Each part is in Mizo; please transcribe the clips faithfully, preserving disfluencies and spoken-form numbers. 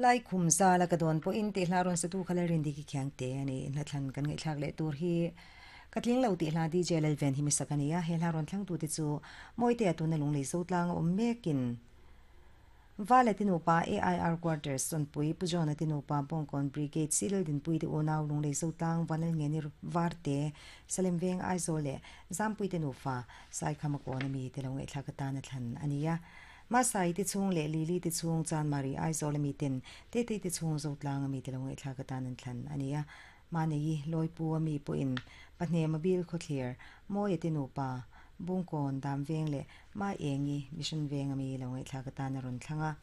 Lai khum zala ka dawn pawhin tih hla rawn satu kha Lalrindiki Khiangte a ni. Hnathlan kan ngaihthlak leh tur hi ka tling lo tih hla D J Lalven hi misak a ni a. He hla rawn thlangtu te chu Mawite a tuna lunglei zo tlang a awm mekin Vale tinupa A I R Quarters Chawnpui Pu John-a tinupa Bawngkawn Brigade Silal Dinpui te unau lunglei zo tlang Vanlal Ngeni Varte Salem Veng Aizawl leh Zampui te nufa Saikhama kawn ami te lo ngaihthlak atan a thlan a ni a. Masai te chhung leh Lili te chhung Chanmari Aizawl ami ten Tetei te chhung zo tlang ami te lo ngaihthlak atan an thlan a ni a. Mahni Lawipu ami pawhin Pahnem a bil khawthlir Mawia te nupa Bungkawn Dam Veng leh Ma Engi Mission Veng ami lo ngaihthlak atan a rawn thlang a.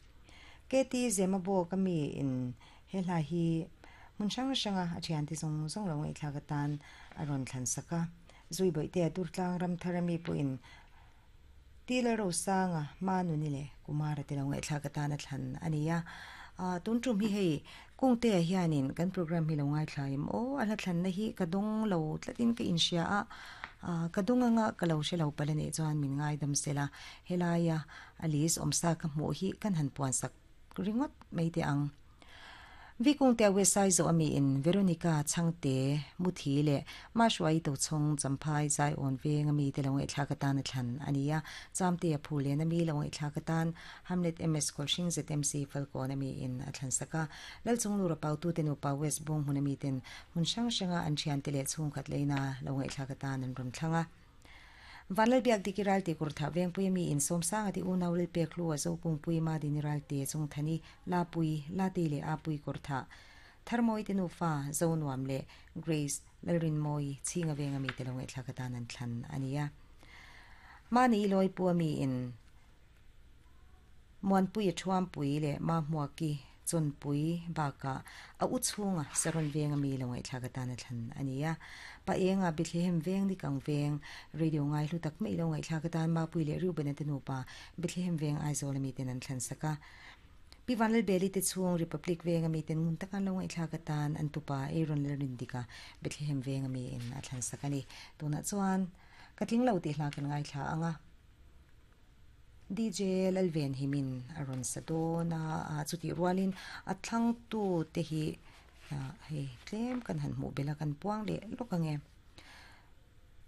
K T Zema bawk ami in he hla hi hmun hrang hranga a thian te zawng zawng lo ngaihthlak atan a rawn thlan sak a. Zui bawihte a Durtlang ram thar ami pawhin Tila Rosanga Ma Nuni leh Kumara te lo ngaihthlak atan a thlan a ni a. Tun tum hi hei Kungte ah hianin kan program hi lo ngaithlaim aw a hla thlanna hi ka dawng lo tlatin ka inhria a ka dawng anga ka lo hre lo pal a nih chuan min ngaidam sela helaia a list awmsa ka hmuh hi kan han puan sak ringawt mai teh ang. Vikungte a West Saizaw ami in Veronica Chhangte Muthi leh Mahruai Tochhawng Champhai Zaiawn Veng ami te lo ngaihthlak atan a thlan a ni a. Chamte a Phulen ami lo ngaihthlak atan Hamlet M S Kawlhring Z M C Falkawn ami in a thlan sak a. Lalchunglura Pautu te nupa West Bawng hmun ami ten hmun hrang hranga an thian te leh chhungkhat leina lo ngaihthlak atan an rawn thlang a. Vanlal biak dik i ralte kurtha vengpui ami in sawmsanga ti unau lel pek hlu a zo kungpui ma din i ralte chungthani lapui late leh apui kurtha tharmawi te nufa zo nuam leh Grace Lalrinmawi chhinga veng ami te lo ngaihthlak atan an thlan a ni a. Mahni i lawipu ami in Muanpui a thuampui leh ma hmuaki Chawnpui bakah a u chhunga Saron veng ami lo ngaihthlak atan a thlan a ni a. Pa enga Bethlehem veng ni kang veng radio ngai hlu tak mai lo ngaihthlak atan Mapui leh Reuben-a te nupa Bethlehem veng Aizawl ami ten an thlan sak a. Pi Vanlalbeli te chhung Republic veng ami ten ngun taka an lo ngaihthlak atan an tupa Aaron Lalrindika Bethlehem veng ami in a thlan sak a ni. Tunah chuan ka tling lo tih hla kan ngaithla ang a. D J Lalven himin a rawn sa dawn a, chutih rualin a thlangtu te hi hei tlem kan han hmuh belh a, kan puang leh lawk ang e.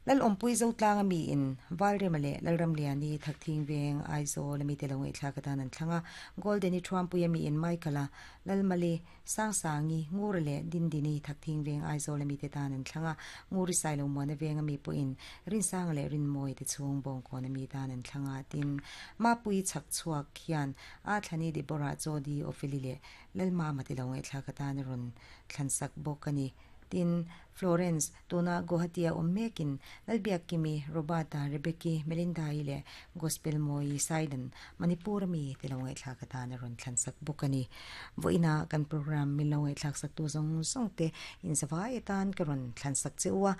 Lalawmpui Zotlang ami in Valrema leh Lalramliani Thakthing Veng Aizawl ami te lo ngaihthlak atan an thlang a, Golden i Thuampui ami in Michael-a Lalmali Sangsangi Ngura leh Dindini Thakthing Veng Aizawl ami te tan an thlang a, Nguri Sailo Muana Veng ami pawhin Rinsanga leh Rinmawi te chhung Bawngkawn ami tan an thlang a, tin Mapui chhak chhuak hian a thlani Deborah Jodi Opheli leh Lalmama te lo ngaihthlak atan a rawn thlan sak bawk a ni. Tin Florence tuna Guwahati a awm mekin Lalbiakkimi, Roberta, Rebecca, Melinda-i leh Gospel Mawi Saidan Manipur ami te lo ngaihthlak atan a rawn thlan sak bawk a ni. Vawiina kan program min lo ngaihthlak sak tu zawng zawng te inzavai atan ka rawn thlan sak che u a.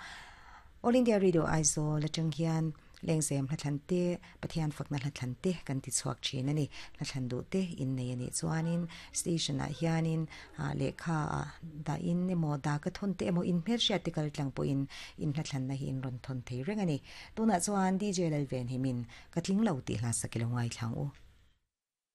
All India Radio Aizawl atang hian lengzem hla thlan te, Pathian fakna hla thlan te kan ti chhuak thin a ni. Hla thlan duh te in nei a nih chuanin station ah hianin lehkha ah dah in emaw dah ka thawn te emaw in hmelhriat te kal tlang pawhin in hla thlanna hi in rawn thawn thei reng a ni. Tunah chuan D J Lalven himin ka tling lo tih hla sak i lo ngaithlang u.